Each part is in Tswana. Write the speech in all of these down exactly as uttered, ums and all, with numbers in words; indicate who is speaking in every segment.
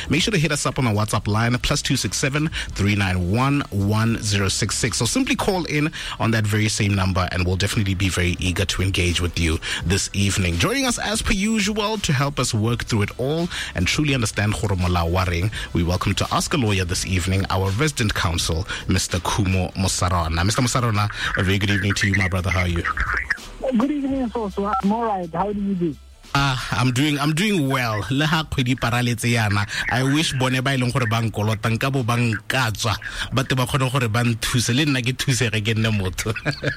Speaker 1: Make sure to hit us up on our WhatsApp line, plus two six seven, three nine one, one zero six six. So simply call in on that very same number and we'll definitely be very eager to engage with you this evening. Joining us as per usual to help us work through it all and truly understand gore molao wa reng, we welcome to Ask a Lawyer this evening our resident counsel, Mister Khumo Mosarona. Mister Mosarona, a very good evening to you, my brother. How are you?
Speaker 2: Good evening, Soso. I'm all right. How do you do?
Speaker 1: Ah, I'm doing I'm doing well. Le ha kgwedi paraletse yana. I wish bone ba ileng gore ba nkolota nka bo ba nkatswa ba te ba kgone gore ba nthuse le nna ke thusege ke nne motho.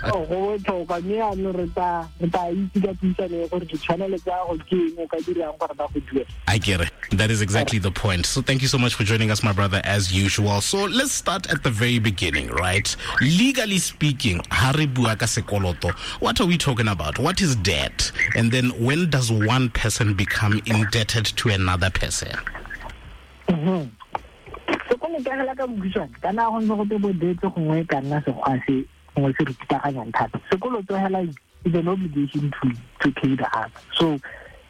Speaker 2: Oh, go botlhokwa mme yaanong re tla re tla itse ka puisano gore ditshwanelo tsa go ke eng o ka dirang gore ba go duele.
Speaker 1: I get it. That is exactly the point. So thank you so much for joining us, my brother, as usual. So let's start at the very beginning, right? Legally speaking, ha re bua ka sekoloto, what are we talking about? What is debt? And then when does one person become indebted to another person?
Speaker 2: Mm-hmm. Sekoloto hela ka bokhutshwane, kana go ntse go te bo debt gongwe ka nna sekgwa se gongwe se re pitaganyang thata. Sekoloto hela is an obligation to, to pay the other. So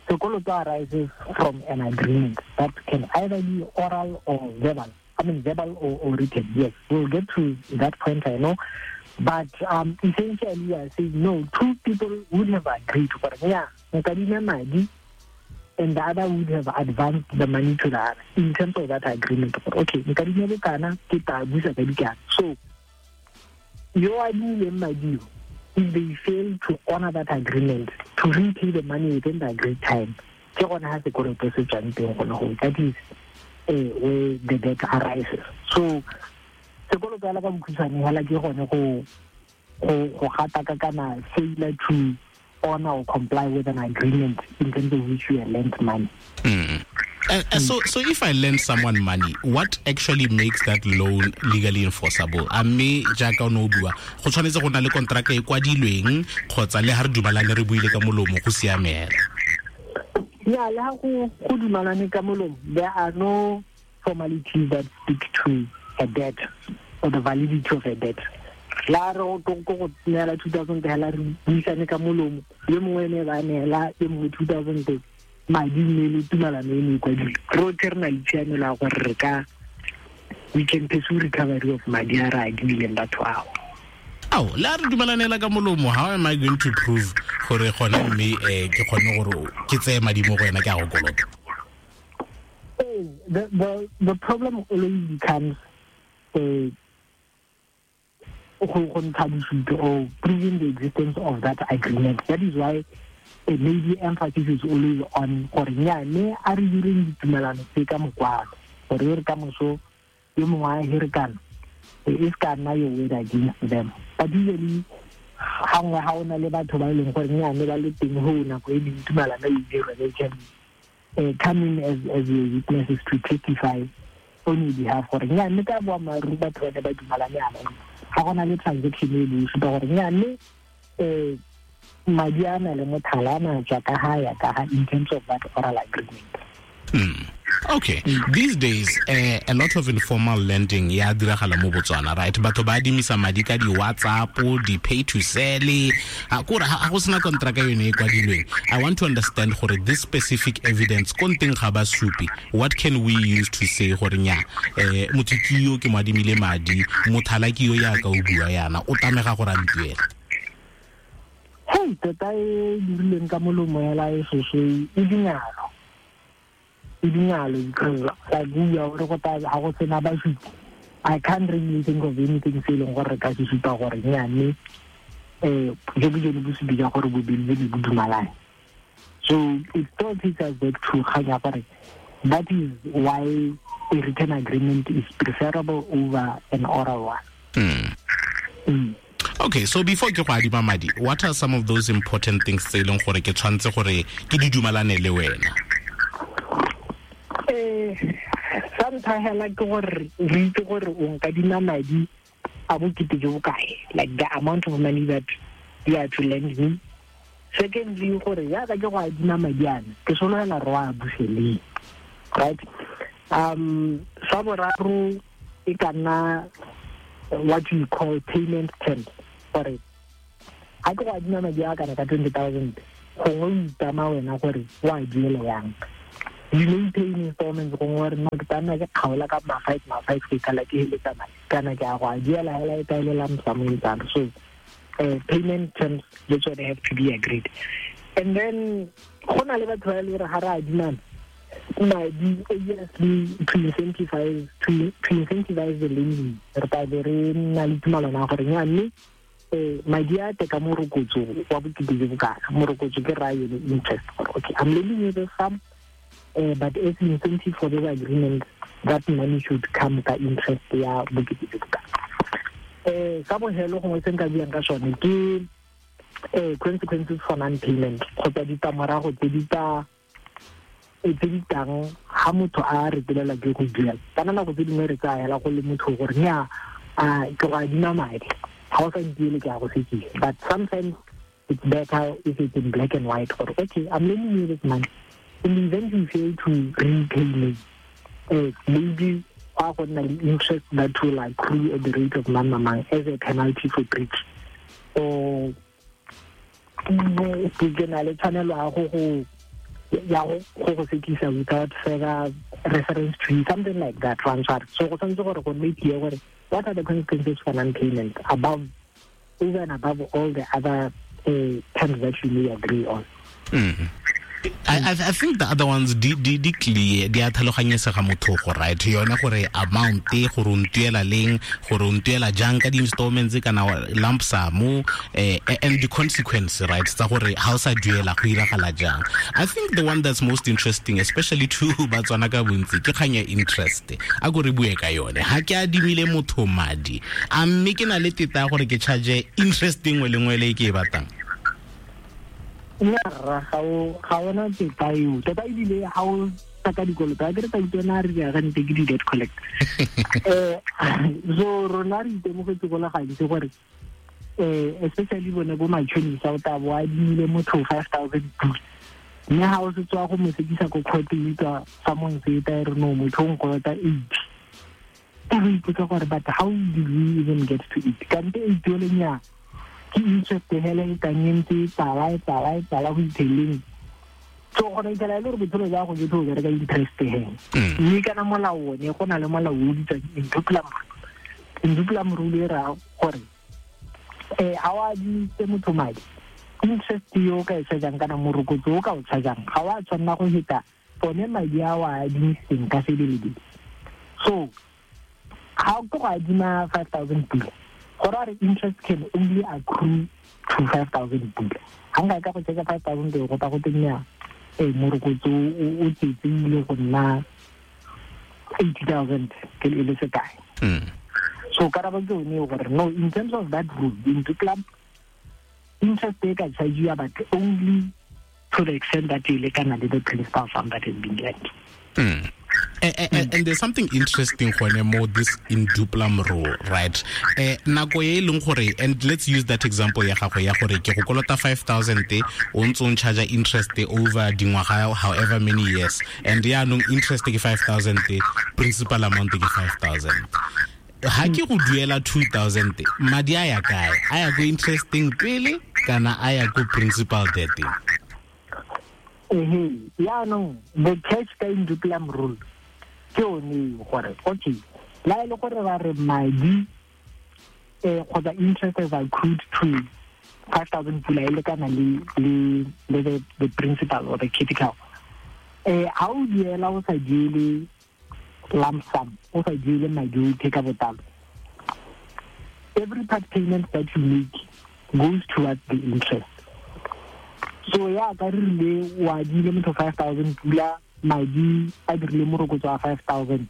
Speaker 2: sekoloto arises from an agreement that can either be oral or verbal. I mean verbal or, or written. Yes, we'll get to that point, I know. But um, essentially, we are saying no, two people would have agreed. Yeah, madi, and the other would have advanced the money to the other in terms of that agreement. Okay, so you are madi, if they fail to honor that agreement, to repay the money within the agreed time, that is uh, where the debt arises. So sekoloto hela ka bokhutshwane hela ke gone go go go gataka kana failure to honor or comply with an agreement in terms of which you are lent money.
Speaker 1: Mm. Uh, uh, so, so if I lend someone money, what actually makes that loan legally enforceable? A mme jaaka o ne o bua, go tshwanetse go na le kontraka e kwadilweng kgotsa le ha re dumalane re buile ka molomo go siamela?
Speaker 2: Yeah, le ha go go dumalane ka molomo, there are no formalities that speak to a debt or the validity of a debt. La re go go neela two thousand hela re buisane ka molomo, yo mongwe ene ba neela yo mongwe two thousand madi mme le tumalano e ne e kwadilwe. Rotlhe re na le tshiamelo ya gore re ka we can pursue recovery of madi a re a adimileng batho ao.
Speaker 1: Ao, le a re dumalanela ka molomo, how am I going to prove gore gona mme eh ke kgone gore ke tseye madi mo go wena ke a go kolota?
Speaker 2: The, the, the problem always becomes uh, go ntsha bosupi or proving the existence of that agreement. That is why uh, maybe emphasis is always on gore nya mme a re direng ditumelano tse ka mokwalo gore re ka moso yo mongwe a herekana e se ka nna your word against them. But usually gangwe ga o na le batho ba e leng gore nya mme ba le teng go nako e leng tumelano e dirwe, they can uh, come in as, as your witnesses to testify on your behalf gore nya mme ka boammaaruri batho ba ne ba dumalane yana ga go na le transaction e le supa gore nya mme um madi a na le mothala a na tswa ka ga ya ka ga in terms of that oral agreement.
Speaker 1: Mm. Okay. Mm. These days, uh, a lot of informal lending ya diragala mo Botswana, right? Batho ba adimisa madi ka di WhatsApp, di pay to sell, ha kore ha go sena contract yone e kwadilweng. I want to understand gore this specific evidence ko nteng ga ba supi. What can we use to say gore nya eh motho ke yo ke mo adimile madi, mothala ke yo ya ka o bua yana, o tlamega gore a ntuele?
Speaker 2: Hey, tota e dirileng ka molomo hela e soso e dingalo. E dingalo because like we are go ta ha go sena basupi. I can't really think of anything se leng gore re ka se supa gore nya mme eh jo bo jone bosupi ja gore bobedi bo bo dumalane. So it still takes us back to kgang ya gore that is why a written agreement is preferable over an oral one.
Speaker 1: Mm. Mm. Okay, so before ke go adima madi, what are some of those important things tse e leng gore ke tshwanetse gore ke di dumalane le wena?
Speaker 2: Eh, sa ntlha hela ke gore re itse gore o nkadima madi a bokete jo bokae, like the amount of money that you are to lend me. Secondly, gore yaka ke go adima madi ana, ke sologela re wa buseleng, right? Um, sa boraro e ka nna what you call payment terms. Gore ga ke go adima madi a kana ka twenty thousand, gongwe o itama wena gore o a duele yang. You may pay in installments gongwe re nna ke tla nna ke kgaola ka ma five ma five ke kala ke heletsa madi kana ke a go a duela hela e taelela msamong tsalo. So uh, payment terms le tsone have to be agreed. And then go na le batho ba e le gore ga re adimana madi, obviously to incentivize to, to incentivize the lending, re tla be re nna le tumalano ya gore nya mme eh madi a te ka morokotso wa bokete jo bokana, morokotso ke raya yone interest gore okay, I'm lending you the sum, uh, but as incentive for this agreement, that money should come ka interest ya bokete jo bokana. Eh ka bohelo gongwe se nka buang ka sone ke eh consequences for non-payment kgotsa ditlamorago tse di tla tse di tlang ha motho a retelelwa ke go duela. Kana nako tse dingwe re tsaya hela go le motho gore nya a ke go adima madi, ga o sa ntiele ke a go sekisa. But sometimes it's better if it's in black and white gore okay, I'm lending you this money, in the event you fail to repay me, uh, maybe go go nna le interest that will accrue at the rate of mang mang as a penalty for breach, or ke na le tshwanelo ya go go ya go go sekisa without further reference to something like that transfer. So go tshwanetse gore go nne clear gore what are the consequences for non-payment above, over and above all the other uh, terms that you may agree on.
Speaker 1: Mm-hmm. I, I think the other ones di di di clear, di a tlhaloganyesega motho, right? Yone gore amount gore o ntuela leng, gore o ntuela jang ka di-installments kana lump sum, eh, and the consequence, right? Tsa gore ha o sa duela go iragala jang. I think the one that's most interesting, especially to Batswana ka bontsi, ke kgang ya interest. A go re bue ka yone. Ha ke adimile motho madi, a mme ke na le teta ya gore ke charge interest nngwe le nngwe le e ke e batlang?
Speaker 2: Nna ga o ga ona teta eo tota, ebile ga o tsaka dikoloto a ke re tsa utlwana re diagante ke di-debt collect. Eh so rona re itemogetse go le gantsi gore eh especially bone bo matšhonisa o tla bo adimile motho five thousand pula, mme ga o se tswa go mo sekisa ko court e utlwa fa mongwe e ta re no motho o nkolota eight, e re ipotsa gore but how did we even get to it? Kante eight o lenya ke interest hela e tang e ntse e tsala e tsala e tsala go itheleng. So go itlhela e le gore botshelo jwa go jotlhe o bereka interest hela. Mme kana molao one go na le molao o bitswang in duplum in duplum rule e raya gore eh ha o adimitse motho madi, interest yo o ka e chargeang kana morokotso o ka o chargeang ga o a tshwanela go feta one madi a o a adimisitseng ka sebelebele. So ga o ke go adima five thousand pula, gore a re interest can only accrue to five thousand pula. Ga nka ka go charge five thousand go ta go tenya eh morokotso o tsetse ile go nna eighty thousand ke le le sekae. So karabo ke yone gore no, in terms of that rule in duplum, interest e ka charge but only to the extent that e lekana le the principal sum that has been lent.
Speaker 1: Mm. And, and, and there's something interesting gone more this in duplum rule, right? Eh nako e leng gore, and let's use that example ya gago ya gore ke go kolota five thousand o ntse o charge interest over dingwaga however many years, and ya nong interest ke five thousand, principal amount ke five thousand. Ha ke go duela two thousand, madi a ya kae? A ya go interesting pele kana a ya go principal debt?
Speaker 2: Ehe, yaanong the catch ka in duplum rule ke yone gore okay, la e le gore ba re madi eh kgotsa interest is accrued to five thousand pula e lekana le le le the, the principal or the capital. Eh ha o duela o sa duele lump sum, o sa duele madi o take ka botlalo, every part payment that you make goes towards the interest. So ya ka re rile o adile motho five thousand pula, madi a dirile morokotso wa five thousand,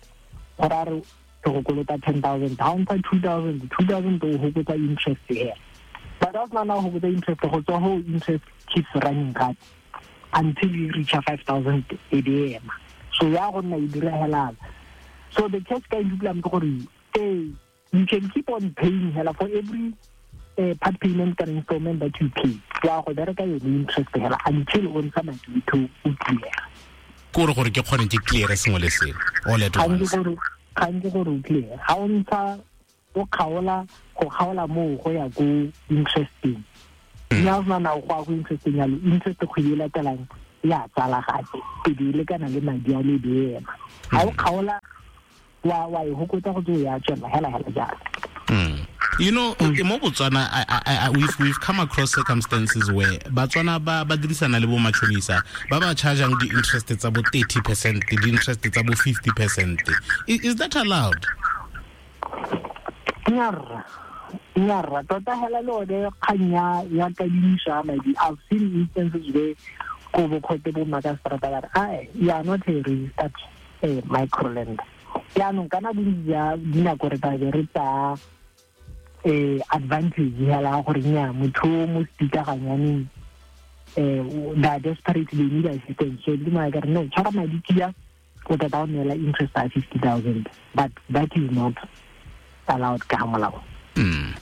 Speaker 2: gore a re ke go kolota ten thousand, ha o ntsha two thousand, two thousand o hokotsa interest here. But ha o sena ho hokotsa interest, go tswa ho interest keeps running gape until you reach five thousand e be ema. So ya go nna e dira hela. So the catch ka in duplum ke gore eh you can keep on paying hela for every uh, part payment and installment that you pay. Ya go bereka yone interest hela until o ntsha madi to o clear.
Speaker 1: Kore gore ke kgone ke clear sengwe le sengwe all at once.
Speaker 2: Ga nke gore o clear. Ha o ntsha o kgaola go kgaola moo go ya ko interesting. Mme ha o sena go ya go interesting yalo, interest kgwedi e latelang ya tsala gape e be e lekana le madi a le be ema ga o kgaola wa wa e hokotsa go tse ya tswela hela hela jalo.
Speaker 1: Mm. You know, mm. mo Botswana, I, I, I, we've, we've come across circumstances where Botswana ba ba dirisana le bo matšhonisa ba ba chargeang di interest tsa bo thirty percent, di interest tsa bo fifty percent. Is, is that allowed?
Speaker 2: Nyarra. Nyarra. Tota hela le one kgang ya ya kadimiso ya madi. I've seen instances where ko bo khote bo makastrata ba re, "Ai, you are not a registered eh, microlender." Jaanong kana bontsi ja dinako re tla be re tsaya eh advantage hela gore nya motho mo spikaganyaneng eh they are desperate, they need assistance. So di ma ka re no tshwara madi kia o tla ba neela interest ya fifty thousand, but that is not allowed ka molao.
Speaker 1: Mm.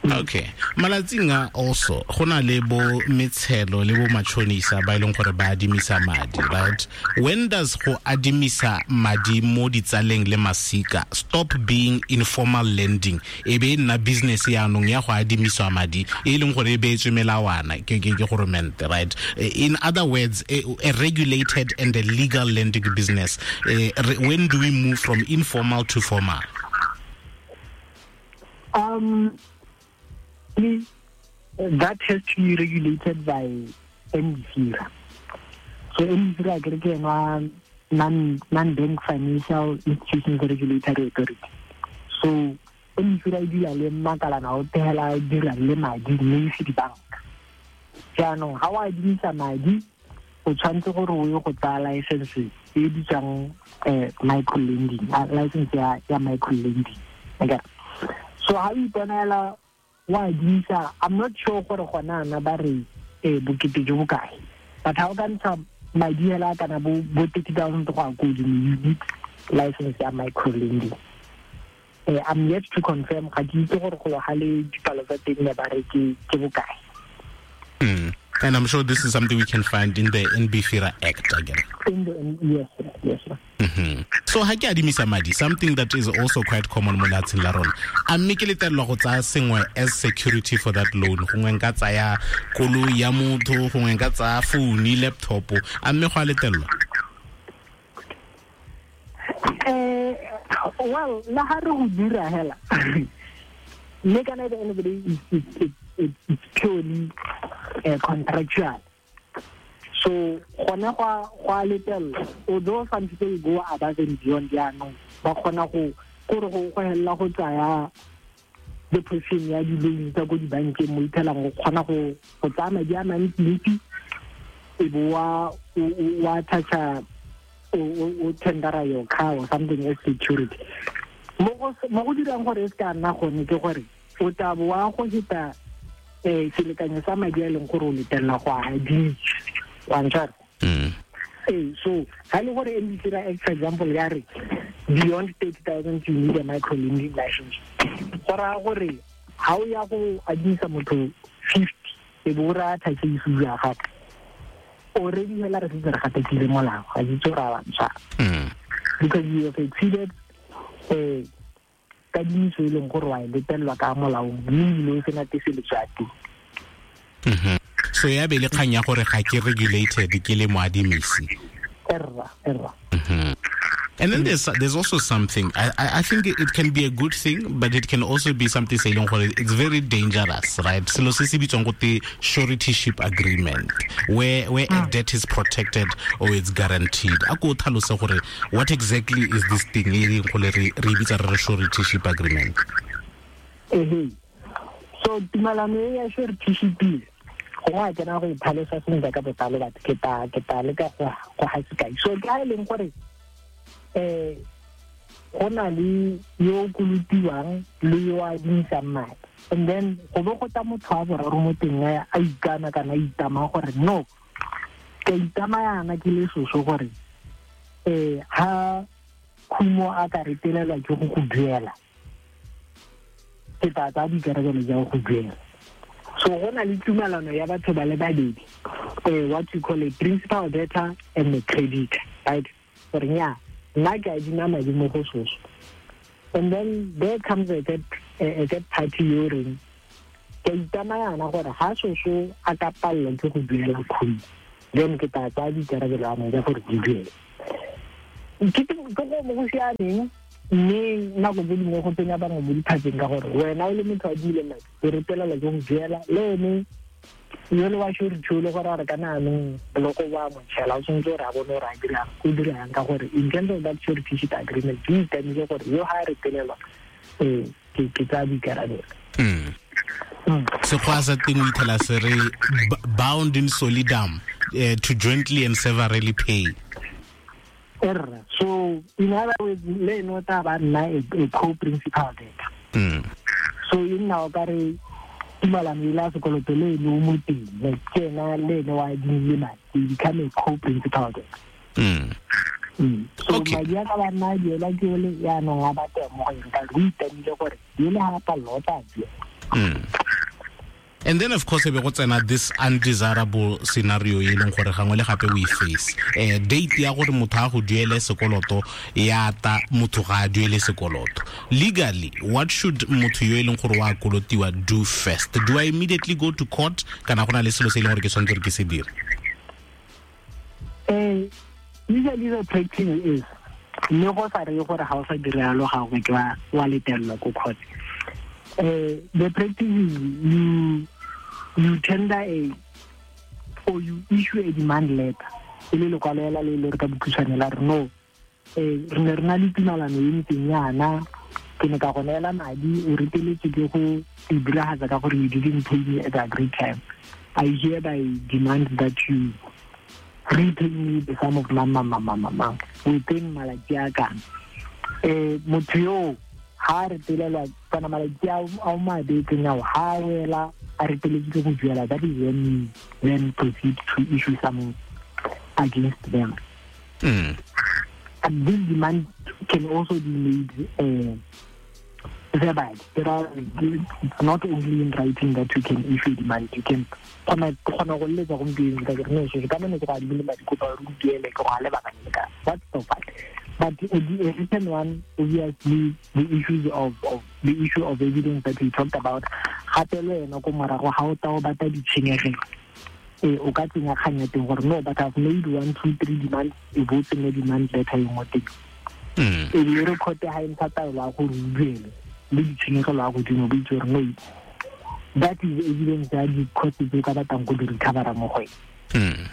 Speaker 1: Okay. Malatsing a also go na le bo metshelo le bo matšhonisa ba ileng gore ba adimisa madi, right? When does go adimisa madi mo ditsaleng le masika stop being informal lending e be nna business ya nong ya go adimisa madi e leng gore e beetswe melawana ke ke ke goromente, right? In other words, a, a regulated and a legal lending business. Uh, when do we move from informal to formal?
Speaker 2: Um that has to be regulated by N B F I R A. So N B F I R A ke non non-bank financial institutions regulatory authority. So N B F I R A e dira le makalana o thela dira le madi mme se di banka. Jaanong ga o adimisa madi o tshwanetse gore o ye go tsaya license e bitswang eh micro lending, license ya ya micro lending. Okay. So ha o iponela wa adimisa, I'm not sure gore gona ana ba re eh bokete jo bokae, but ha o ka ntsha madi hela kana bo bo thirty thousand go ya ko godimo, you need license ya micro lending. Eh I'm yet to confirm, ga ke itse gore go ga le dipalo tsa teng le ba re ke ke bokae.
Speaker 1: Mm. And I'm sure this is something we can find in the N B F I R A Act again.
Speaker 2: In the, yes, yes.
Speaker 1: Mm-hmm. So ha ke adimisa madi, something that is also quite common mo lefatsheng la rona. A mme ke letelelwa go tsaya sengwe as security for that loan. Gongwe nka tsaya koloi ya motho, gongwe nka tsaya phone, laptop. A mme go a letelelwa?
Speaker 2: Eh, well, la ha re go dira hela. Mme kana at the end of the day, it's, it's, it's, it's purely uh, contractual. So gone go go a letelelwa, although some people go above and beyond jaanong ba kgona go kore go go hella go tsaya the position ya di-loan tsa ko dibankeng mo ithelang go kgona go go tsaya madi a mantsi e bo wa wa toucha o tendera your car or something as security. Mo go mo go dirang gore e se ka nna gone ke gore o tla bo wa go heta eh selekanyo sa madi a leng gore o letelela go a adima. Mm. Hey, so ha le gore N B F I R A for example ya re beyond thirty thousand you need a micro lending license. Go raya gore ha o ya go adimisa motho fifty e bo ra thatse issue ya gago. Already hela re setse re gatekile molao, ga ke itse gore a bantshwa. Because you have exceeded eh kadimiso e leng gore wa e letelelwa ka molaong mme ebile o sena teseletso ya teng.
Speaker 1: Mm-hmm. So ya be le kgang ya gore ga ke regulated ke le moadimisi.
Speaker 2: Erra, erra.
Speaker 1: Mm-hmm. And then there's there's also something I I think it can be a good thing, but it can also be something se leng gore it's very dangerous, right? Selo se se bitswang go te suretyship agreement, where where a debt is protected or it's guaranteed. A ko tlhalose gore what exactly is this thing e leng gore re re bitsa re suretyship agreement?
Speaker 2: Eh. So tumalano ya suretyship go a tsena go iphalosa sentle ka botlalo, batho ke ta ke ta le ka go go ga sekai. So ke ha e leng gore eh go na le yo kolotiwang le yo a adimisang madi, and then go bo go ta motho wa boraro mo teng a ikana kana a itama gore no ke itama yana ke le soso gore eh ha khumo a ka retelelwa ke go go duela ke tla tsaya dikarabelo ja go duela. So go na le tumelano ya batho ba le babedi, eh what you call a principal debtor and a creditor, right? Gore nya nna ke adima madi mo go soso, and then there comes a third, a third party yo reng ke itama yana gore ha soso a ka palelwa ke go duela khumo Then ke tla tsaya dikarabelo a madi gore di duele. Ke ke go mo go siameng mme nako tse dingwe go tsenya bangwe mo diphatseng ka gore wena o le motho a adimile madi o retelelwa ke go duela le ene yole wa surety o le gore a re kana anong boloko bo a mo tšhela o tshwanetse gore a bone gore a dirang o dirang ka gore in terms of that surety sheet agreement ke itamile gore yo ga a retelelwa um ke ke tsaya boikarabelo.
Speaker 1: Sekgwa sa teng o ithela se re bound in solidum uh, to jointly and severally pay.
Speaker 2: Erra, so in other words le ene o tla ba nna a co-principal debtor.
Speaker 1: Mm.
Speaker 2: So e nna o ka re tumalano ile ya sekoloto le ene o mo teng, like ke ena le ene wa adimile madi, they become a co-principal debtor.
Speaker 1: Mm.
Speaker 2: Mm. So
Speaker 1: Okay.
Speaker 2: madi a ka ba nna a duela ke ole yaanong a batla mo go eng ka re o itamile gore ele ga a palelwa o tla duela.
Speaker 1: Mm. And then of course e be go tsena this undesirable scenario e leng gore gangwe le gape we face. Eh date ya gore motho a go duele sekoloto ya ta motho ga a duele sekoloto. Legally, what should motho yo e leng gore wa kolotiwa do first? Do I immediately go to court kana go na le selo se e leng gore ke tshwanetse gore ke se dire?
Speaker 2: Eh usually the practice is mme go sa reye gore ga o sa dire yalo gangwe ke wa wa letelelwa ko court. Uh, the practice is you you tender a or you issue a demand letter. E le lekwalo ela le le re ka bokhutshwane la re no eh re ne re na le tumalano e ntseng yana ke ne ka go neela madi o reteletswe ke go e diragatsa ka gore you didn't pay me at the agreed time. I hereby demand that you repay me the sum of mama mama mama within malatsi a kana. Eh motho yo ha re retelelwa kana malatsi a a mabetseng ao ha wela a reteletswe go duela, that is when you then proceed to issue some against them.
Speaker 1: Mm.
Speaker 2: And this demand can also be made uh, verbally. There are, it's not only in writing that you can issue demand. You can kgona kgona go letsa gompieno ka re no se ka mane go adimile madi kopa re duele ke go a lebaka le ka what's the fact. But a, a written one, obviously, the issues of, of the issue of evidence that we talked about. Gape le wena ko morago ga o tla o batla ditshenyegelo eh o ka tsenya kgang ya teng gore no but I've made one two three demands e bo tsenya demand letter e nngwe teng.
Speaker 1: Mm.
Speaker 2: E be re court ha e ntsha taelo ya gore o duele le ditshenyegelo ya godimo bo itse gore no that is evidence ya di-cost tse o ka batlang go di recovera mo go ene.
Speaker 1: Mm.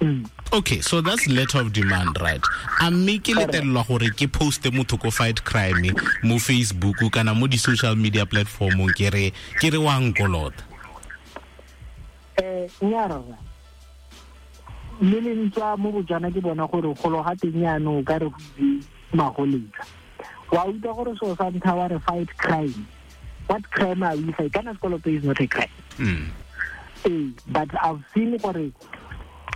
Speaker 2: Mm.
Speaker 1: Okay, so that's letter of demand, right? A mme ke letelelwa gore ke poste motho ko fight crime mo Facebook kana mo di-social media platformong ke re ke re wa nkolota?
Speaker 2: Eh nya rra le le ntswa mo Botswana ke bona gore golo ga teng yaanong o ka re go itse magoletsa. Wa utlwa gore seo sa ntlha wa re fight crime. What crime are we fight? Kana sekoloto is not a crime.
Speaker 1: Mm.
Speaker 2: Eh, but I've seen gore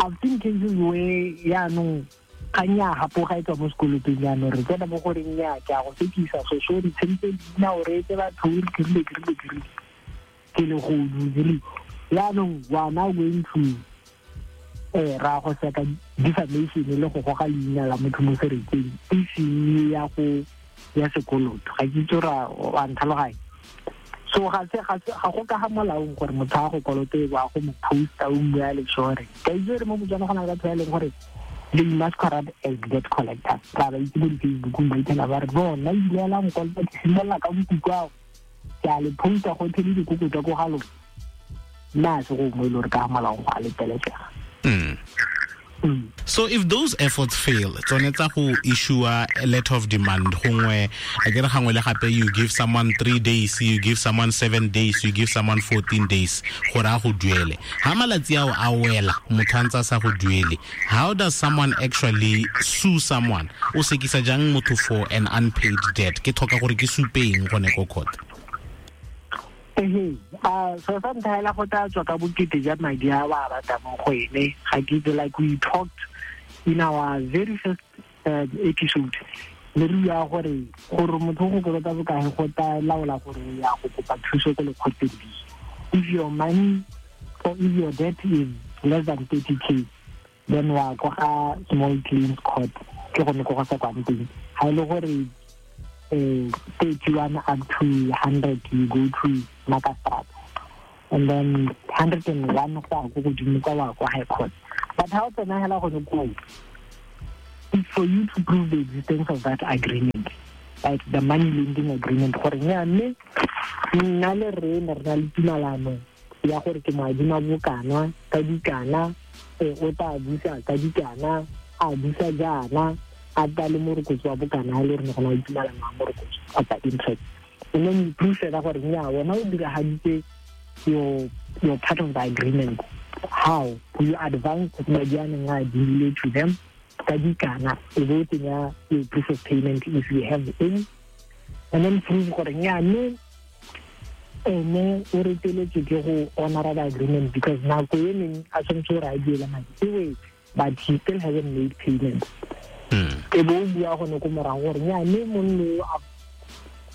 Speaker 2: I've seen cases where yaanong kgang ya gapoga e tswa mo sekolotong jaanong re tsena mo goreng ya ke a go sekisa so so re tshentse leina o reetse batho o re dirile dirile dirile ke le godu dirile yaanong we are now going to eh ra go seka defamation le go goga leina la motho mo seretseng e seng ya go ya sekoloto ga ke itse ra wa ntlhaloganya. So ga se ga se ga go ka ga molaong gore motho a go kolote wa go mo posta o mmua le sure ka itse re mo Botswana go na le batho ba e leng gore they masquerade as debt collectors ra ba itse mo di-Facebookong ba ithela ba re bona ebile la nkolota ke simolola ka bokuku ao ke a le posta gotlhe le dikoko tsa ko ga lona nna se go mo e le gore ka ga molaong go a letelesega.
Speaker 1: Mm.
Speaker 2: Mm.
Speaker 1: So if those efforts fail, tsone tsa go issue a letter of demand gongwe a ke re gangwe le gape you give someone three days, you give someone seven days, you give someone fourteen days gore a go duele. Ha malatsi ao a wela motho a ntse a sa go duele, how does someone actually sue someone? O sekisa jang motho for an unpaid debt? Ke tlhoka gore ke supeng gone ko court.
Speaker 2: Ehe, a so sa ntlha hela go tla tswa ka bokete ja madi a ba batlang mo go ene. Ga ke itse, like we talked in our very first uh, episode le re bua gore gore motho go kolota bokae go tla laola gore ya go kopa thuso ko lekgotleng. If your money or if your debt is less than thirty K, then wa ko ga small claims court ke gone ko go sa kwang teng. Ga e le gore eh thirty-one up to hundred you go to Makassar, and then hundred and one go ya ko godimo kwa wa kwa high court. But ha o tsena hela gone koo, it's for you to prove the existence of that agreement, like the money lending agreement. Gore nya mme nna le re ne re na le tumalano ya gore ke mo adima bokana ka dikana, o tla busa ka dikana, a busa jaana, a tla le morokotso wa bokana le re ne go na le tumalano ya morokotso kgotsa interest. And then you prove that gore nya wena o diragaditse your your part of the agreement. How you advance madi a neng a adimile to them ka dikana, e bo tsenya your proof of payment if you have any, and then prove gore nya mme ene o reteletswe ke go honora the agreement because nako e neng a tshwanetse gore a duele madi e, but he still hasn't made payment. E bo o bua gone ko morago gore nya mme monno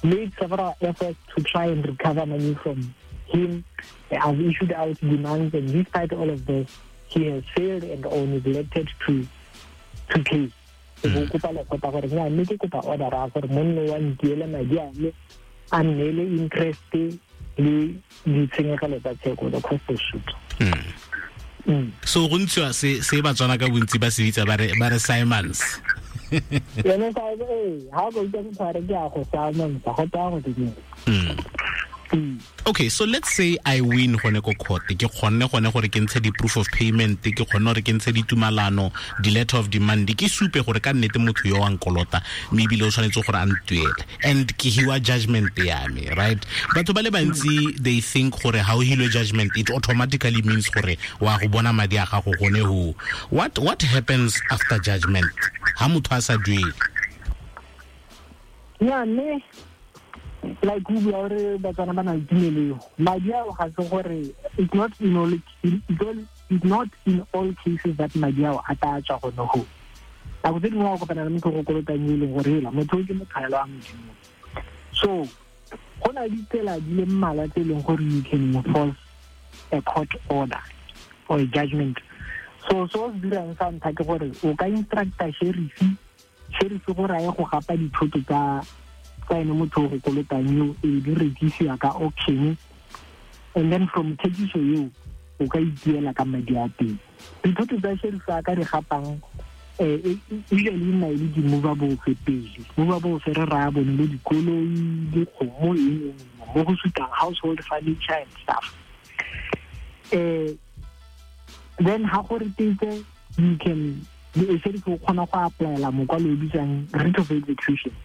Speaker 2: made several efforts to try and recover money from him. I've issued out demands, and despite all of this, he has failed and or neglected to to pay. E bo kopa lekgotla gore nya mme ke kopa order ya gore monno wa ntiele madi a me, a nneele interest le ditshenyegelo tsa tsheko, the cost of suit.
Speaker 1: Mm. So go ntshiwa se se Batswana ka bontsi ba se bitsa ba re ba re Simons.
Speaker 2: Yone sa e ha go itse motho a re ke a go Simons, go tsaya go ke
Speaker 1: Mm. Okay, so let's say I win gone ko court, ke kgonne gone gore ke ntshe di proof of payment, ke kgonne gore ke ntshe ditumalano, di letter of demand, ke supe gore ka nnete motho yo wa nkolota mme ebile o tshwanetse gore a ntuele, and ke hiwa judgment ya me, right? Batho ba le bantsi, they think gore ha o hilwe judgment, it automatically means gore wa go bona madi a gago gone ho. What what happens after judgment ha motho a sa duele?
Speaker 2: Yeah, mme like o bua gore Batswana ba na le tumelo, madi ao ga se gore it's not in all it's not in all cases that madi ao a tla tswa gone ho. Nako tse dingwe wa kopana le motho go kolotang e leng gore hela motho o ke mokgaelo wa Modimo. So go na le ditsela di le mmalwa tse e leng gore you can enforce a court order or a judgment. So so se dirang sa ntlha ke gore o ka instructa sheriff sheriff gore a ye go gapa dithoto tsa tsa ene motho o go kolotang eo, e di rekisiwa ka auction, and then from thekiso eo o ka ituela ka madi a teng. Dithoto tsa sheriff a ka di gapang eh usually nna e le di-movable pele. Movable se re raya bone bo dikoloi, dikgomo, eng mo go sutang household furniture and stuff. Eh then ha go retetse, you can sheriff o kgona go applyela mokwalo o bitswang writ of execution,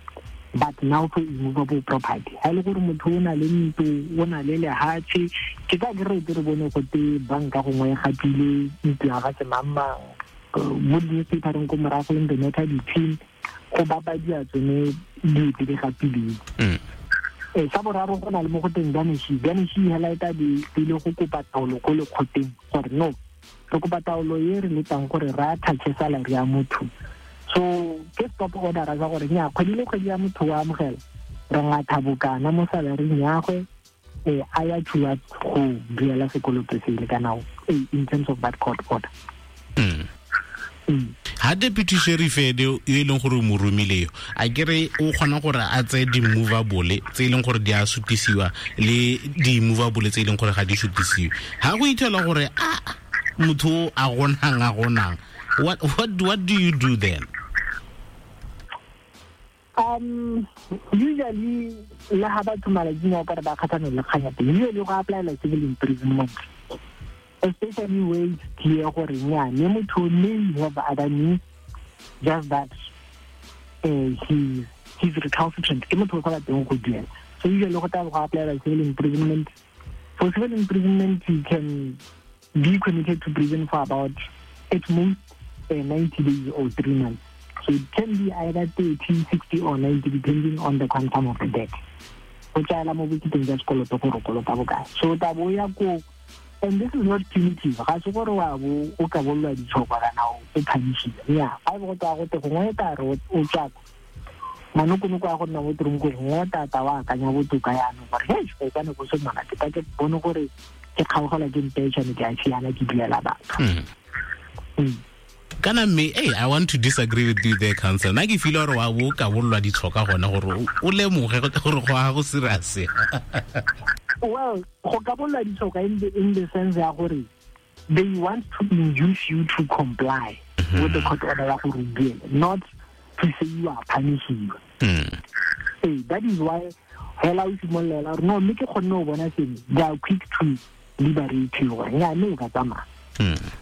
Speaker 2: but now for immovable property. Ha ile gore motho o na le ntlo, o na le lehatshe, ke tla ke re re bone go te banka gongwe e gapile ntlo ya ga semangmang mo di-newspapereng ko morago in the matter between go bapadiwa tsone dilo tse di gapileng. Eh sa boraro go na le mo go teng garnish. Garnish hela e tla be e le go kopa taolo ko lekgoteng gore no, re kopa taolo e re letang gore re attach salary ya motho. So ke stop order sa gore nya kgwedi le kgwedi ya motho wa amogela re ngatha bokana mo salaryng ya gwe, eh a ya towards go duela sekoloto sele kana in terms of that court order.
Speaker 1: Mm. Ha deputy sheriff ene yo e leng gore o mo romile yo, a kere o kgona gore a tseye di-movable tse e leng gore di a sutisiwa le di-movable tse e leng gore ga di sutisiwe. Ha go ithela gore a motho a gonang a gonang, what what what do you do then?
Speaker 2: Um usually le ha batho malatsing a ka re ba kgathanong le kgang ya teng, usually go applyela civil imprisonment, especially where it's clear gore nya mme motho may have other means, just that uh, he he's recalcitrant, ke motho o sa bateng go duela. So usually go tla go applyela civil imprisonment. For civil imprisonment, you can be committed to prison for about at most uh, ninety days or three months. So it can be either thirty, sixty or ninety depending on the quantum of the debt. Go tsaya mo boketeng jwa sekoloto gore o kolota bokae. So tla bo ya ko, and this is not punitive. Ga se gore wa bo o ka bolelwa ditshoko kana o phanishiwa. Yeah, ga bo go tsaya gote gongwe e tla re o tswa manokonoko a go nna mo toronkong, gongwe tata wa akanya botoka jaanong gore hei go ka ne go se monate ka ke bone gore ke kgaogelwa ke mpetšhane ke a siana ke duela batho.
Speaker 1: Mm. Kana mme, hey, I want to disagree with you there, counsel. Nna ke feel gore wa bo ka bolelwa ditlhoka gone gore o lemoge gore go a go serious.
Speaker 2: Well, go ka bolelwa ditlhoka in the in the sense ya gore They want to induce you to comply mm-hmm. with the court order ya gore o duele, not to say you are punishing you.
Speaker 1: Mm.
Speaker 2: Hey, that is why hela o simolola gore no mme ke kgonne go bona sengwe, they are quick to liberate you gore nya mme o ka tsamaya.
Speaker 1: Mm.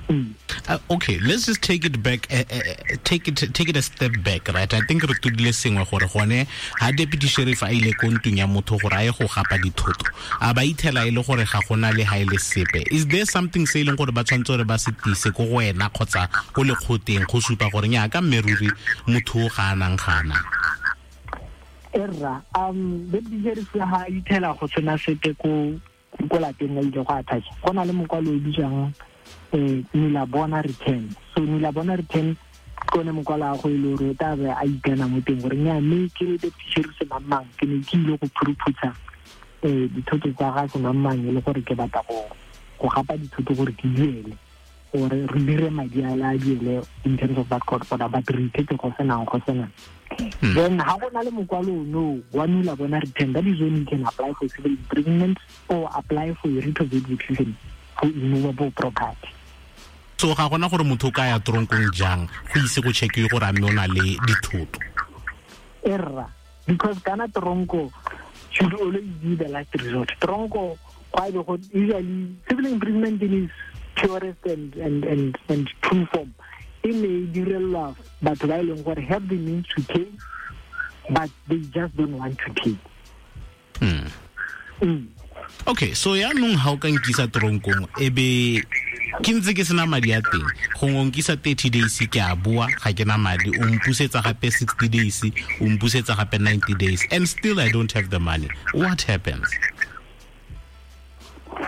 Speaker 2: Mm.
Speaker 1: Uh, okay, let's just take it back, uh, uh, take it take it a step back, right? I think re tudile sengwe gore gone ha deputy sheriff a ile ko ntlong ya motho gore a ye go gapa dithoto, a ba ithela e le gore ga gona le ha ile sepe. Is there something se e leng gore ba tshwanetse gore ba se tise ko go wena kgotsa ko lekgoteng go supa gore nya ka mme ruri motho o ga anang ga anang?
Speaker 2: Erra, um deputy sheriff ha ithela go tsena sepe ko ko lapeng la ile go attach. Go na le mokwalo o bitswang eh nula bona return. So nula bona return ke one mokwalo a go ile gore o tla be a ikana mo teng gore nya mme ke le deputy sheriff semang ke ne ke ile go phuruphutsha eh dithoto tsa ga semang e le gore ke batla go go gapa dithoto gore ke duele gore re dire madi a la duele in terms of that court order, but re ithete go senang go senang.
Speaker 1: Hmm.
Speaker 2: Then ha go na le mokwalo no wa nula bona return, that is when you can apply for civil imprisonment or apply for a writ of execution for immovable property.
Speaker 1: So ga gona gore motho o ka ya tronkong jang go ise go checkiwe gore a mme o na le dithoto?
Speaker 2: Erra, because kana tronko should always be the last resort. Tronko kwa be go usually civil imprisonment in its purest and and and and true form e ne e direlwa batho ba e leng gore have the means to pay but they just don't want to pay.
Speaker 1: Mm.
Speaker 2: Mm.
Speaker 1: Okay, so yaanong ha o ka nkisa tronkong e be ke ntse ke sena madi a teng, gongwe o nkisa thirty days ke a boa ga ke na madi, o mpusetsa gape sixty days, o mpusetsa gape ninety days, and still I don't have the money. What happens?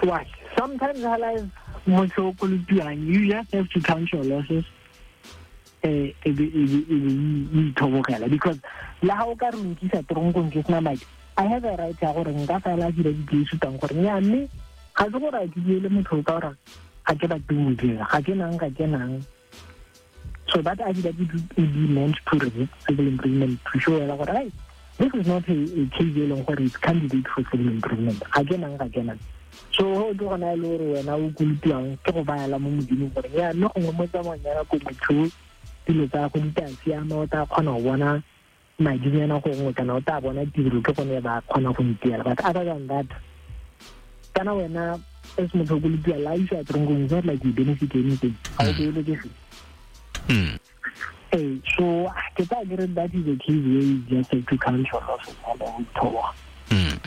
Speaker 2: Why? Sometimes I like motho o kolotiwang, you just have to count your losses eh e be e be ithobogela, because la ha o ka re nkisa tronkong ke sena madi, I have a right ya gore nka fela dira di sutang gore nya mme ga se gore a ke le motho ka gore ga ke batle go dira, ga ke nang ga ke nang. So that affidavit would be meant to resist civil imprisonment, to show gore hey, this is not a, a case e leng gore it's candidate for civil imprisonment, ga ke nang ga ke nang. So ho ke gona e le gore wena o kolotiwang ke go bayala mo modimong gore ya mme gongwe mo tsamaong ya nako motho dilo tsa go di tla siama, o tla kgona go bona madinyana gongwe kana o tla bona tiro ke gone ba kgona go ntiela. But other than that, kana wena as motho o kolotiwa la isa tronkong, it's not like you benefit anything. Ga o beele ke se.
Speaker 1: Mm.
Speaker 2: Hey, so ke tla ke re that is a case where you just have to count your losses and o
Speaker 1: Mm.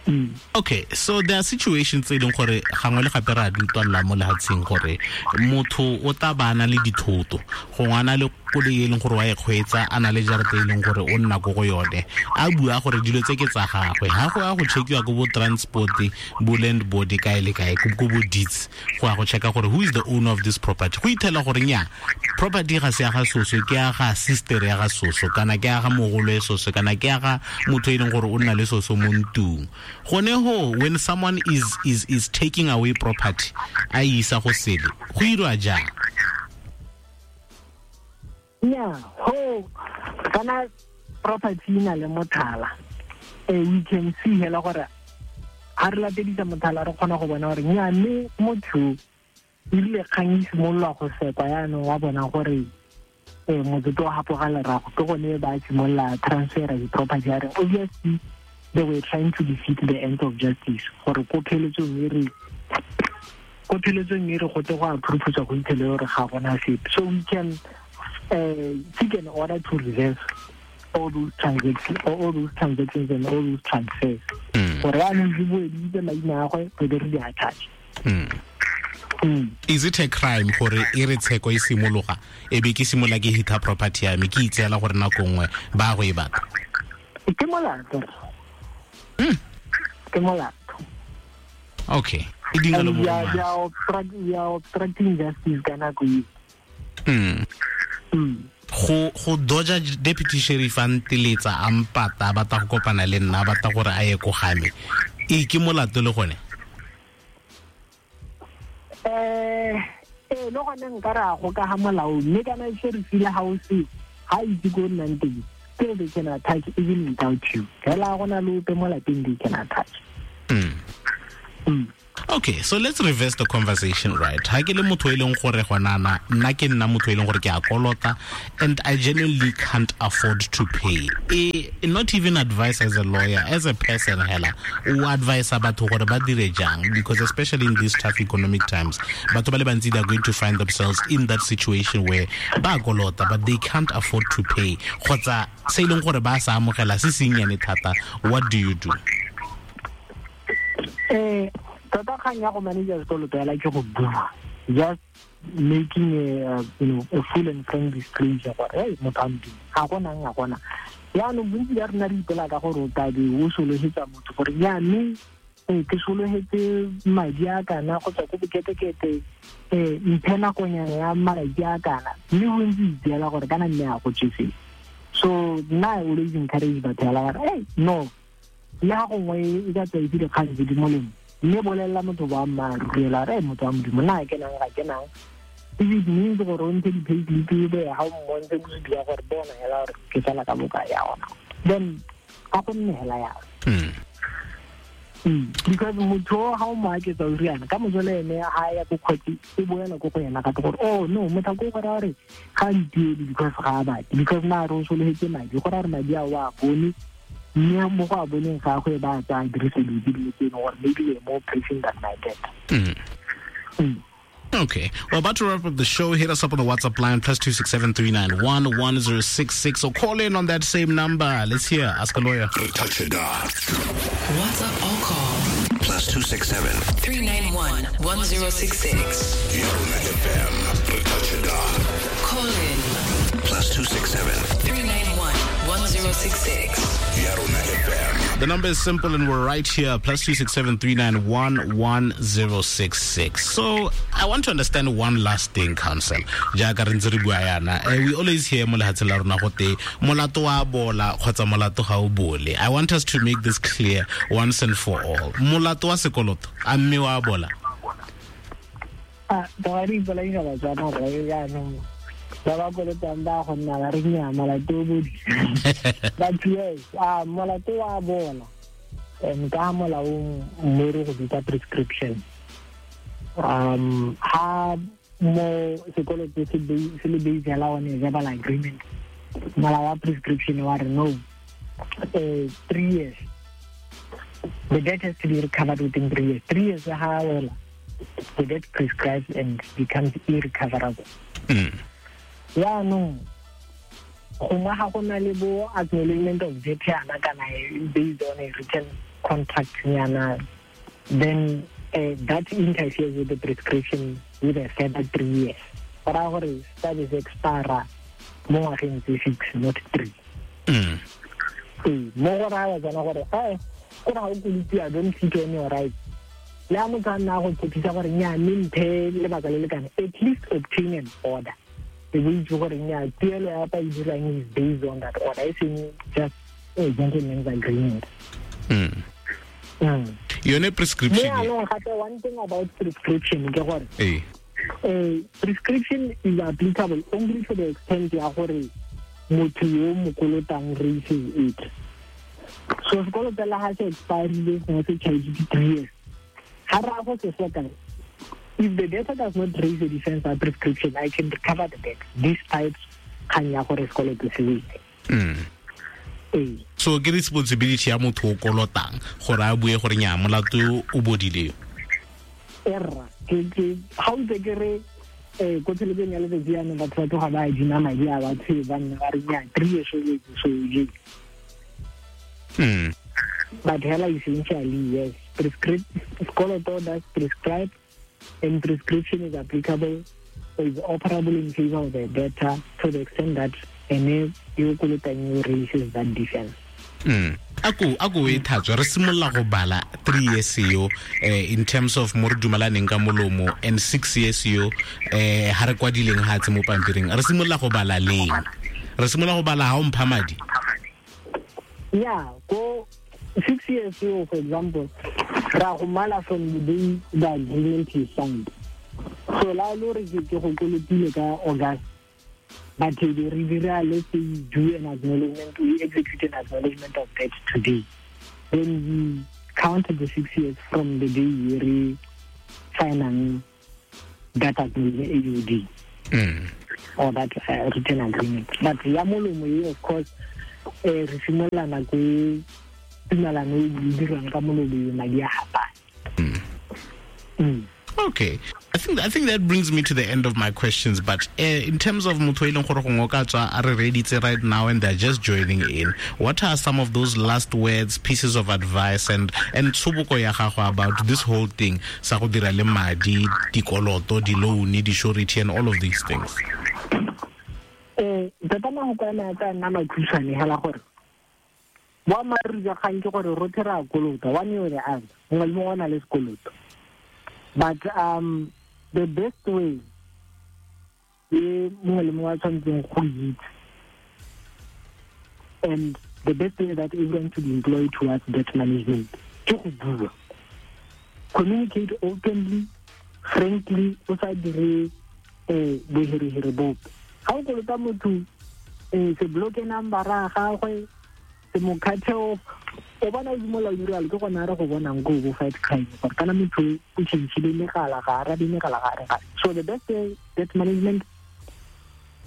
Speaker 2: Mm.
Speaker 1: Okay, so there are situations tse e leng gore gangwe le gape re a di utlwalela mo lefatsheng gore motho o tla ba a na le dithoto, gongwe a na le koloi e leng gore wa e kgweetsa, a na le jarata e leng gore o nna ko go yone, a bua gore dilo tse ke tsa gagwe. Ha go ya go checkiwa ko bo transport, bo land board kae le kae, ko bo deeds, go ya go checka gore who is the owner of this property. Go ithela gore nya property ga se ya ga soso, ke ya ga sister ya ga soso, kana ke ya ga mogolo e soso, kana ke ya ga motho e leng gore o nna le soso mo ntlong. Gone ho, when someone is is is taking away property a isa go sele, go irwa jang?
Speaker 2: Yeah, ho kana property ina le mothala, eh we can see hela gore ha re latedisa mothala re kgona go bona gore nya mme motho ile kgang e simolola go sekwa yaanong wa bona gore eh motho o hapoga lerago, ke gone ba simolola transfer di-property ya reng. Obviously they were trying to defeat the end of justice gore ko pheletsong e re ko pheletsong e re go te go a phuruphutswa go ithele gore ga gona sepe. So we can uh, seek an order to reverse all those transactions, all those transactions and all those transfers. Gore yaanong di boeditse maina a gwe re be re di attach.
Speaker 1: Mm.
Speaker 2: Mm.
Speaker 1: Is it a crime gore e re tsheko e simologa e be ke simolola ke hita property ya me ke itseela gore nako nngwe ba go e batla?
Speaker 2: Ke molato.
Speaker 1: Mm.
Speaker 2: Ke molato.
Speaker 1: Okay. E dinga le
Speaker 2: We are obstruct, we are obstructing justice ka nako e.
Speaker 1: Mm.
Speaker 2: Mm.
Speaker 1: Go go doja deputy sheriff a nteletsa a mpata a batla go kopana le nna, a batla gore a ye ko game, e ke molato le gone?
Speaker 2: Eh eh le gone nka re a go ka ga molao, mme kana sheriff le ha o se ha itse ko nnang teng, still they can attach even without you. Fela go na le ope mo lapeng they can attach.
Speaker 1: Mm.
Speaker 2: Mm.
Speaker 1: Okay, so let's reverse the conversation, right? Ha ke le motho e leng gore gonana nna ke nna motho e leng gore ke a kolota and I genuinely can't afford to pay. E, not even advice as a lawyer, as a person hela, o advise batho gore ba dire jang, because especially in these tough economic times, batho ba le bantsi they are going to find themselves in that situation where ba kolota but they can't afford to pay. Kgotsa se e leng gore ba sa amogela se sennyane thata, what do you do?
Speaker 2: Eh, tota kgang ya go manage sekoloto ya ke go bua, just making a, you know, a full and frank disclosure gore hey motho a Modimo ga gonang ga gona. Yaanong bontsi ba rena re ipela ka gore o tabe o sologetsa motho gore jaanong ke sologetse madi a kana go tswa ko boketekete, um mphe nakonyana ya malatsi a kana, mme bontsi itseela gore kana mme a go tsese. So nna I always encourage batho hela gore hey no, le ga gongwe e ka tswa itse dikgang tse di molemo, mme bolelela motho boammaaruri ela re motho wa Modimo nna ke nang ga ke nang. If it means gore o ntshe di-payslip be ga o mmontshe bosupi ya gore bona hela gore ke sala ka bokae ya ona, then ga go nne hela yalo. Because motho ga o mo aketsa o riana ka moso le ene ga ya ko kgotsi e boela ko go yena gape gore oh no motho ko go raya gore ga a ntuele because ga a batle, because na re o sologetse madi, go raya gore madi a o a bone, mme mo go a boneng ga go e ba tsaya dirise dilo tse dingwe tse e leng gore maybe they're more pressing than my debt.
Speaker 1: Mm.
Speaker 2: Mm.
Speaker 1: Okay. We're about to wrap up the show. Hit us up on the WhatsApp line, plus two six seven three nine one one zero six six, or call in on that same number. Let's hear. Ask a Lawyer.
Speaker 3: Touch it off.
Speaker 4: WhatsApp or call.
Speaker 3: Plus two six seven
Speaker 4: three nine one one zero six six.
Speaker 3: Yarona F M. Touch it off.
Speaker 4: Call in.
Speaker 3: Plus two six seven
Speaker 4: three nine one one zero six six.
Speaker 3: Yarona F M.
Speaker 1: The number is simple and we're right here, plus two six seven three nine one one zero six six. So I want to understand one last thing, counsel. Jaaka re ntse re bua yana, we always hear mo lehatsheng la rona gote molato wa bola kgotsa molato ga o bole. I want us to make this clear once and for all. Molato wa sekoloto, a mme wa bola?
Speaker 2: Ah, ba re ipolaisa Batswana gore jaanong ba ba kolotang ba go nna ba re nnyaa molato o bodi. But yes, ah, molato wa bola. Um, ka molaong mo re go bitsa prescription. Um, ha mo sekoloto se se le based hela on a verbal agreement, molao wa prescription wa re no, uh, three years. The debt has to be recovered within three years. Three years ha wela, the debt prescribes and becomes irrecoverable.
Speaker 1: Mm.
Speaker 2: Yaanong gongwe ga go na le bo acknowledgement of debt yana kana based on a written contract yana, then uh, that interferes with the prescription with a further three years. Go raya gore studies expire mo ngwageng tse six, not three.
Speaker 1: Mm.
Speaker 2: Ee, mo go raya tsona gore eh go ra o kolotiwa, don't sit on your rights. Le ha motho a nna a go tshepisa gore nnyaa mme mphe lebaka le le kana, at least obtain an order. E bo itse gore nnyaa tuelo ya pa e dirang is based on that order, e seng just a gentleman's agreement.
Speaker 1: Mm.
Speaker 2: Mm.
Speaker 1: Yone prescription.
Speaker 2: Mme jaanong gape one thing about prescription ke gore
Speaker 1: ee
Speaker 2: eh prescription is applicable only to the extent ya gore motho yo mo kolotang raises it. So sekoloto la ha se expirile gongwe se charge three years, ha ra go se soka, if the debtor does not raise a defense or prescription, I can recover the debt despite kgang ya gore sekoloto se wele.
Speaker 1: Mm.
Speaker 2: Ee.
Speaker 1: So ke responsibility ya motho o kolotang gore a bue gore nnyaa molato o bodile.
Speaker 2: Erra, ke ke ga o ntse ke re eh ko thelebeng ya letsatsi jaanong batho ba tloga ba adima madi a batho ba nna ba re nnyaa three years o letse so o jele.
Speaker 1: Mm.
Speaker 2: But hela essentially yes, prescript sekoloto does prescribe and prescription is applicable or is operable in favor of the debtor to the extent that ene yo kolotang yo raises that defense.
Speaker 1: Mm. Ako ako e thatswa re simolola go bala three years yo eh, in terms of mo re dumalaneng ka molomo and six years yo eh ha re kwadileng ha tse mo pampiring, re simolola go bala leng? Re simolola go bala ha o mpha madi?
Speaker 2: Yeah, go six years yo, for example, ra go mala from the day the agreement is signed. So la lo re ke go kolotile ka August, but they dira, let's say you do an acknowledgement, we execute an acknowledgement of debt today. Then we count the six years from the day we signang that agreement, A U D.
Speaker 1: Mm.
Speaker 2: Or that uh, written agreement. But ya molomo e, of course, eh, re simolola nako e tumelano e dirwang ka molomo madi a hapane.
Speaker 1: Mm. Okay. I think I think that brings me to the end of my questions. But uh, in terms of motho e leng gore gongwe o ka tswa a re reeditse right now and they're just joining in, what are some of those last words, pieces of advice, and and tshoboko ya gago about this whole thing sa go dira le madi, dikoloto, di-loan, di-surety, and all of these things?
Speaker 2: Eh, tota mafoko a me a tla nna makhutshwane hela gore boammaaruri jwa kgang ke gore rotlhe re a kolota, one way or the other, mongwe le mongwe o na le sekoloto. But um, the best way e mongwe le mongwe a tshwanetseng go itse, and the best way that everyone should employ towards debt management ke go bua. Communicate openly, frankly, o sa dire eh, boherehere bope. Ga o kolota motho, eh, se bloke number ya gagwe, se mo cut off. O bona o simolola o dira ke gone a re go bonang ko bo fight crime gore kana motho o tšhentšhile megala, ga arabe megala, ga re ga. So the best way, debt management,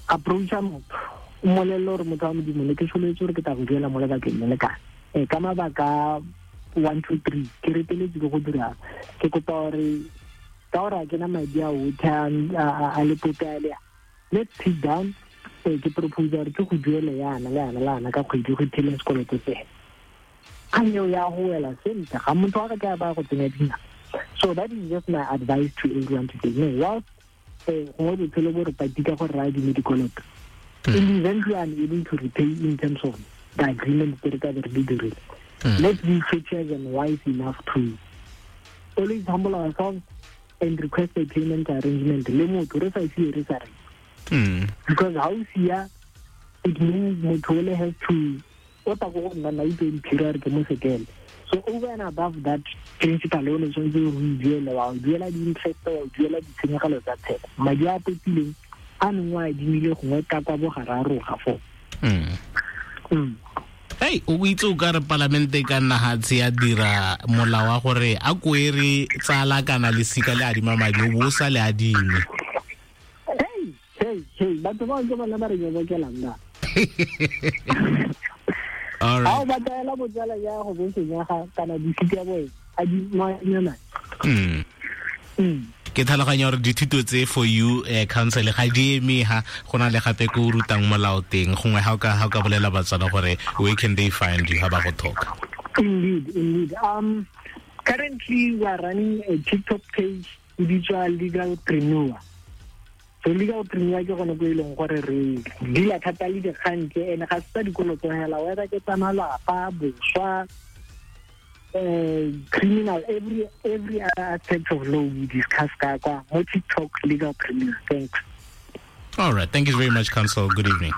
Speaker 2: approacha motho, o mmolelele gore motho wa Modimo ne ke solofetse gore ke tla go duela mo lebakeng le le kana. Eh, ka mabaka one, two, three, ke reteletswe ke go dira, ke kopa gore ka gore ga ke na madi a otlhe a a lepope a le a, let's sit down, eh, ke propose gore ke go duele yana le yana le yana ka kgwedi go ithele sekoloto se. Kgang eo ya go wela sentle, ga motho wa ka ke a ba go tsenya dina. So that is just my advice to everyone today. No, whilst eh, gongwe botshelo bo re patika gore re adime dikoloto, in the event we are unable to repay in terms of the agreement tse re ka be re di dirile, let's be courteous and wise enough to always humble ourselves and request a payment arrangement le motho re sa sie re sa re. Because how sia, it means motho ole has to o tla go nna na itse mphira re ke mo sekele. So over and above that principal o ne tshwanetse o duele, wa o duela di-interest, wa o duela ditshenyegelo tsa tsheko, madi a potileng a neng o a adimile gongwe ka kwa bogararo ga foo.
Speaker 1: Mm. Hey, o itse o ka re palamente ka nna ga tse ya dira molao wa gore a koere tsala kana lesika le adima madi o bo o sa le adime.
Speaker 2: Hey, hey, hey, batho bao ke bona ba re nyobokelang ba.
Speaker 1: All right.
Speaker 2: Ha o batla botsala ya go bo senyaga kana disika boe a di manyana.
Speaker 1: Mm.
Speaker 2: Mm.
Speaker 1: Ke tlhaloganya gore dithuto tse for you eh, counsel ga di eme ha go na le gape ko o rutang molao teng gongwe ha o ka ha o ka bolela Batswana gore where can they find you ha ba go talk.
Speaker 2: Indeed, indeed. Um, currently we are running a TikTok page e bitswa Legalpreneur. So Legalpreneur ke gone ko e leng gore re deala thata le dikgang tse, ene ga se tsa dikoloto hela, whether ke tsa malapa, boswa, eh, criminal, every every other aspect of law we discuss ka kwa mo TikTok Legalpreneur. Thanks.
Speaker 1: All right, thank you very much, counsel. Good evening.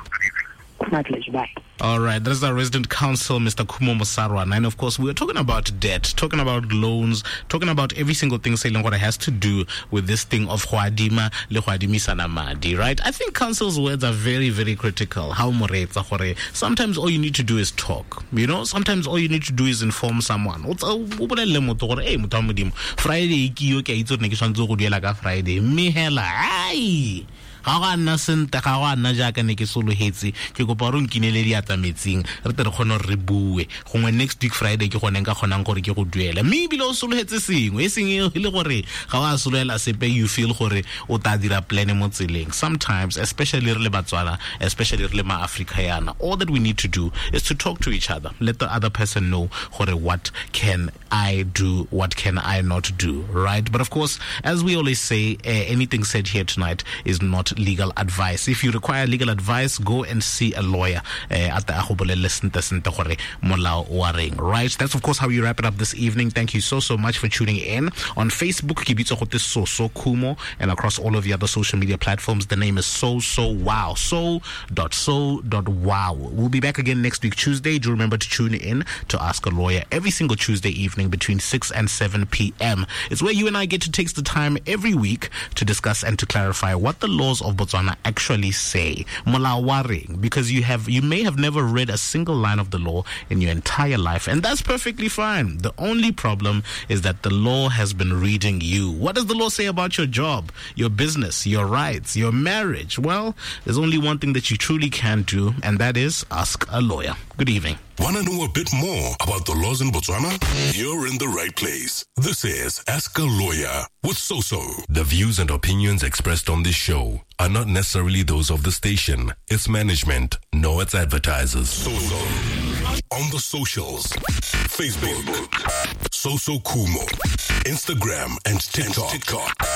Speaker 2: My pleasure. Bye.
Speaker 1: All right, that is our resident counsel, Mister Khumo Mosarwana. And of course, we are talking about debt, talking about loans, talking about every single thing selling what has to do with this thing of go adima le go adimisana madi, right? I think counsel's words are very, very critical. How moretsa gore sometimes all you need to do is talk. You know, sometimes all you need to do is inform someone. O bolelle motho gore, hey, motho wa Modimo, Friday ke yo ke a itse gore ne ke tshwanetse go duela ka Friday. Mme hela, ai! Ga go a nna sentle, ga go a nna jaaka ne ke sologetse, ke kopa gore o nkinele diatla metsing re tle re kgone gore re bue gongwe next week Friday ke gone nka kgonang gore ke go duele, mme ebile o sologetse sengwe e seng e le gore ga o a sologela sepe, you feel gore o tla dira plan mo tseleng. Sometimes, especially re le Batswana, especially re le ma-Africa yana, all that we need to do is to talk to each other, let the other person know gore what can I do, what can I not do, right? But of course, as we always say, uh, anything said here tonight is not legal advice. If you require legal advice, go and see a lawyer at the ago bolelele sentle sentle gore molao wa reng, right? That's of course how you wrap it up this evening. Thank you so so much for tuning in. On Facebook, ke bitswa gote Soso Khumo, and across all of the other social media platforms, the name is So So Wow. So dot so dot wow. We'll be back again next week Tuesday. Do remember to tune in to Ask a Lawyer every single Tuesday evening between six and seven p m. It's where you and I get to take the time every week to discuss and to clarify what the laws of Botswana actually say? Molao wa reng? Because you have, you may have never read a single line of the law in your entire life, and that's perfectly fine. The only problem is that the law has been reading you. What does the law say about your job, your business, your rights, your marriage? Well, there's only one thing that you truly can do, and that is ask a lawyer. Good evening.
Speaker 3: Want to know a bit more about the laws in Botswana? You're in the right place. This is Ask a Lawyer with Soso.
Speaker 5: The views and opinions expressed on this show are not necessarily those of the station, its management, nor its advertisers.
Speaker 3: Soso. On the socials, Facebook, Soso Kumo, Instagram and TikTok, TikTok.